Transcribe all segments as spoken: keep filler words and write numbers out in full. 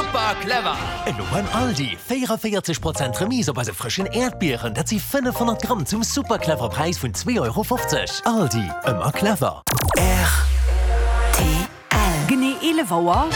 Super clever! Elo beim Aldi, véierundavéierzeg Prozent Remise op eise frëschen Äerdbieren, dat si fënnefhonnert Gramm zum super clever Präis vun zwee Euro fofzeg. Aldi, ëmmer clever. R T L. Genee eelef Auer.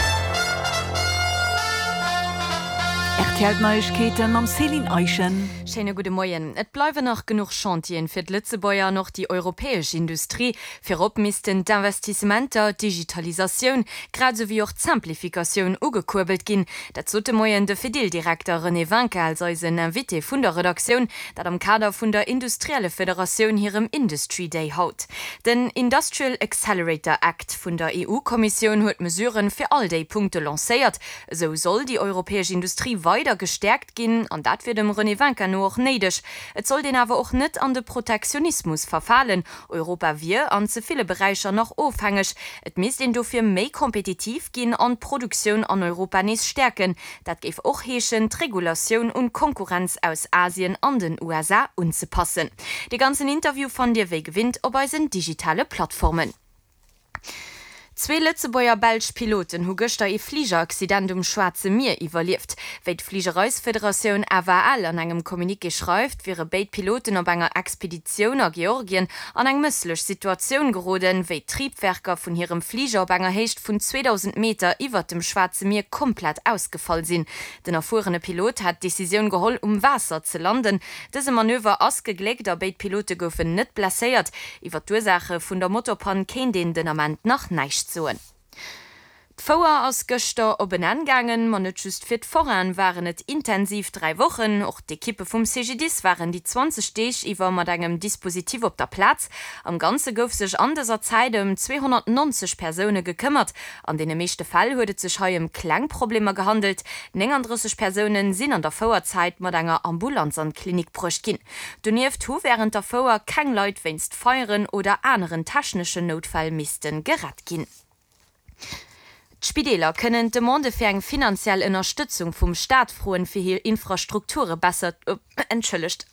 R T L Neiegkeeten mam Céline Eischen. Schéine gudde Moien. Et bleiwen nach genuch Chantieren fir d'Lëtzebuerger an och déi europäesch Industrie. Virop missten d'Investissementer, d'Digitalisatioun, grad esou wéi och d'Simplificatioun ugekuerbelt ginn. Dat sot de Moien de Fedil-Direkter René Winkin als eisen Invité vun der Redaktioun, dat am Kader vun der Industriellefederatioun hirem Industry Day haut. Den Industrial Accelerator Act vun der E U-Kommissioun huet Mesuren fir all déi Punkte lancéiert. Esou soll déi europäesch Industrie weider gestäerkt ginn, an dat wier dem René Winkin no och néideg. Et sollt een awer och net an de Protektionismus verfalen. Europa wier an ze ville Beräicher nach ofhängeg. Et misst een dofir méi kompetitiv ginn an d'Produktioun an Europa nees stäerken. Dat géif och heeschen, d'Regulatioun un d'Konkurrenz aus Asien an den U S A unzepassen. De ganzen Interview fannt Dir wéi gewinnt op eisen digitale Plattformen. Zwee lëtzebuerger-belsch Piloten hu gëschter ee Fligeraccident um Schwaarze Mier iwwerlieft. Wéi d'Fligereisfederatioun F A L an engem Communiqué schreift, wiere béid Piloten op enger Expeditioun a Georgien an eng mësslech Situatioun geroden, wéi d'Triebwerker vun hirem Fliger op enger Héicht vun zweedausend Meter iwwert dem Schwaarze Mier komplett ausgefall sinn. Den erfuerene Pilot hat d'Decisioun geholl, um Waasser ze landen. Dëse Manöver ass gegléckt a béid Pilote goufen net blesséiert. Iwwer d'Ursaache vun der Motorpann kéint een den Ament nach näischt soen. D'Fouer ass gëschter op en Enn gaangen, ma net just fir d'Foraine waren et intensiv dräi Wochen. Och d'Ekippe vum C G D I S waren déi zwanzeg Deeg iwwer mat engem Dispositif op der Plaz. Am Ganze gouf sech an dëser Zäit ëm zweehonnertnonzeg Persoune gekëmmert. An deene meeschte Fäll huet et sech hei ëm kleng Problemer gehandelt. Nénganddrësseg Persoune sinn an der Fouerzäit mat enger Ambulanz an d'Klinik bruecht ginn. Donieft hu wärend der Fouer keng Leit wéinst Feieren oder aneren techneschen Noutfäll misste gerett ginn. D'Spideeler kënnen d'Demande fir eng finanziell Ënnerstëtzung vum Staat froen, fir hir Infrastrukture besser, entschëllegt,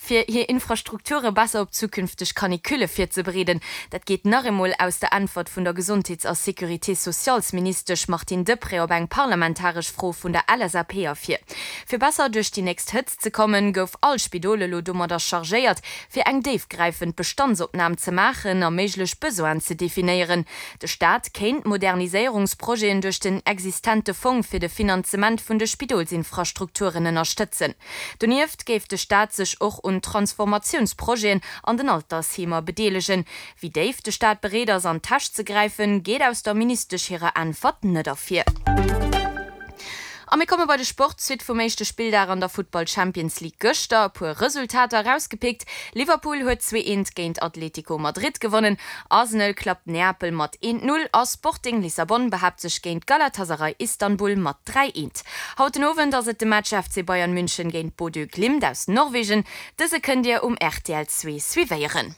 fir hir Infrastrukture besser op zukünfteg Canicule virzebereeden. Dat geet nach emol aus der Äntwert vun der Gesondheets a Sécurité-sociales-Ministesch Martine Deprez op eng parlamentaresch Fro vun der L S A P ervir. Fir besser duerch déi nächst Hëtzt ze kommen, gouf all Spidol elo domadder chargéiert, fir eng déifgräifend Bestandsopnam ze maachen a méiglech Besoinen ze definéieren. De Staat kéint Moderniséierungsprojeten duerch den existente Fong fir de Finanzement vun de Spidolsinfrastrukturen ënnerstëtzen. Donieft géif de Staat sech och un Transformatiounsprojeten an den Altersheemer bedeelegen. Wéi déif de Staat bereet ass an d'Täsch ze gräifen, geet aus der Ministesch hirer Äntwert net ervir. A mir komme bei de Sport. D'Suite vum éischte Spilldag an der Futtball Champions League gëschter. E puer Resultater erausgepickt. Liverpool huet zwee eent géint Atlético Madrid gewonnen. Arsenal klappt Neapel mat eent null a Sporting Lissabon behaapt sech géint Galatasaray Istanbul mat dräi eent. Haut den Owend ass et de Match F C Bayern München géint Bodø Glimt aus Norwegen. Dëse kënnt Dir um R T L zwee suivéieren.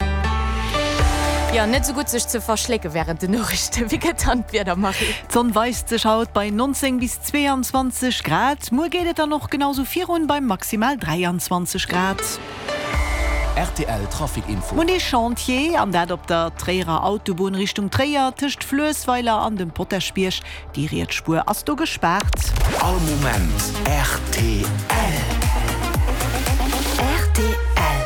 Jo, net sou gutt sech ze verschlécke wärend den Noriichten. Wéi gëtt dann d'Wieder, Marie? D'Sonn weist sech haut bei neunzéng bis zweeanzwanzeg Grad. Muer geet et dann och genau sou virun bei maximal dräianzwanzeg Grad. R T L Trafic Info. Mir hunn ee Chantier, an dat op der Tréierer Autobunn Richtung Tréier, tëscht Fluessweiler an dem Potaschbierg. Déi riets Spuer ass do gespaart. All Moment R T L. R T L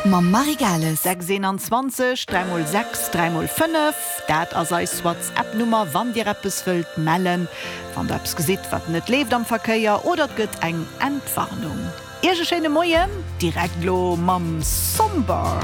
mam Marie Gales. sechs eenanzwanzeg, dräi mol sechs, dräi mol fënnef, dat ass eis WhatsApp-Nummer, wann Dir eppes wëllt mellen, wann Der eppes gesitt, wat net leeft am Verkéier oder et gëtt eng Entwarnung. Iech e schéine Moien, direkt lo mam Somber.